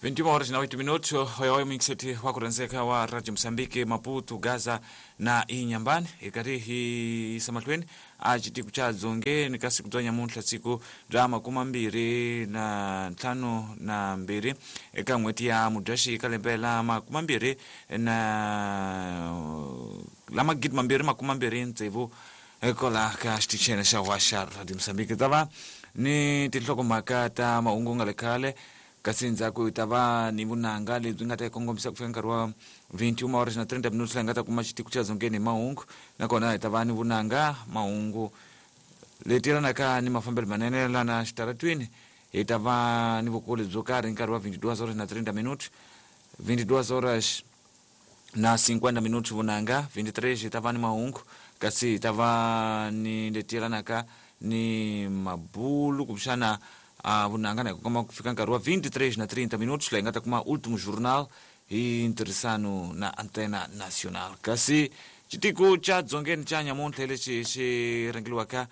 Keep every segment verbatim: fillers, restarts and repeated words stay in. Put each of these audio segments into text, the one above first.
vinte e uma horas na oito minutos, hoyo mixeti wa kurenzeka wa Radio Msambiki Maputo Gaza na Inhambane ikati hi samahlweni a xitiko xa dzongeni ka siku bya nyamuntlha siku bya makuma mbirhi na ntlhanu na mbirhi eka n'hweti ya Mudyaxihi ka lembe la makuma mbirhi na la magidi mambirhi makuma mbirhi tsevu ekola ka xitichini xa wa xa Radio Msambiki ta va ni tinhlokomhaka ta mahungu nga le khale kasi ndzhaku hi ta va ni vunanga lebyi nga ta hi kongomisa ku fika nkarhi wa vinte e uma horas na trinta minutos laha hi nga ta kuma xitiko xa dzongeni hi mahungu nakona hi ta va ni vunanga mahungu leti yelanaka ni mafambelo manene lana xitaratwini hi ta va ni vukulu byo karhi nkarhi wa vinte e duas horas na trinta minutos vinte e duas horas na cinquenta minutos vunanga vinte e três hi ta va ni mahungu kasi hi ta va ni leti yelanaka ni mabulu kumbexana a vunanga na kuma ku fika nkarhi wa vinte e três na trinta minutos laha hi nga ta kuma último jornal hi ntirhisano na Antena Nacional kasi xitiko xa dzongeni xa nyamuntlha lexi xi rhangeliwaka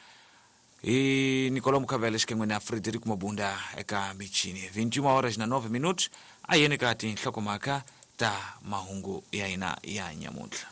hi Nicolau Mukhavele xikan'we na Frederico Mabunda eka michini vinte e uma horas na nove minutos a yeni ka tinhlokomhaka ta mahungu ya hina ya nyamuntlha.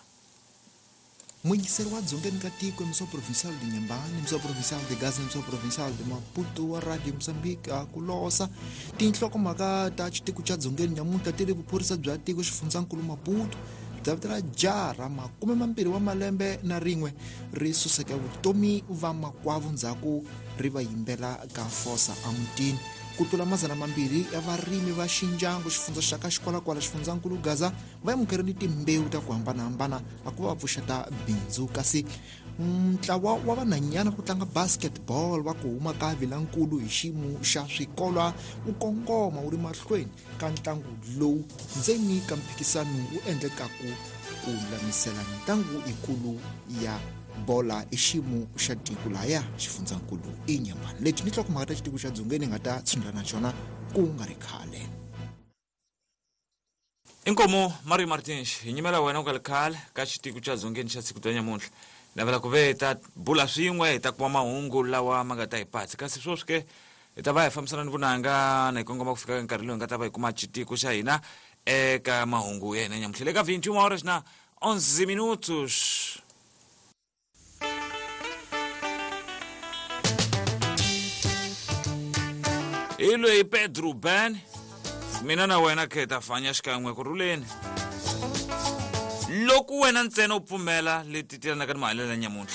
Muyingiseri wa dzongeni ka tiko emissão provincial de Inhambane, emissão provincial de Gaza, emissão provincial de Maputo wa Radio Mozambique a ku losa tinhlokomhaka ta xitiko xa dzongeni nyamuntlha ti ri vuphorisa bya tiko xifundzankulu Maputo bya vito ra jara makume mambirhi wa malembe na rin'we ri suseke vutomi va makwavo ndzhaku ri va yimbela ka fosa emutini ku tlula mazana mambirhi ya varimi va xinjangu xifundza xa ka xikwalakwala xifundzankulu Gaza va amukerile timbewu ta ku hambanahambana a ku va pfuxeta bindzu kasi ntlawa wa vanhanyana ku tlanga basketball va ku huma ka Vilankulu hi xiyimo xa swikolwa wu kongoma wu ri mahlweni ka ntlangu lowu ndzeni ka mphikisano wu endlekaku ku lulamisela ntlangu yikulu ya bola i xiyimo xa tiko laya xifundzankulu Inhambane leti ni nhlokomhaka ta xitiko xa dzongeni nga ta tshundla na xona ku nga ri khale. Inkomo Mario Martins hi nyimela wena ku nga ri khale ka xitiko xa dzongeni xa siku bya nyamuntlha navela ku ve hi ta bula swin'we hi ta kuma mahungu lawa ma nga ta hi patsi kasi sweswi ke hi ta va hi fambisana ni vunanga na hi kongoma ku fika nkarhi lowu hi nga ta va hi kuma xitiko xa hina eka mahungu ya hina nyamuntlha le ka vinte e uma horas na onze minutos. Hi loyi Pedro Ben mina na wena khe hi ta fanya xikan'we kurhuleni loko wena ntsena u pfumela leti tilanaka ni mahanyelo ya nyamuntlha.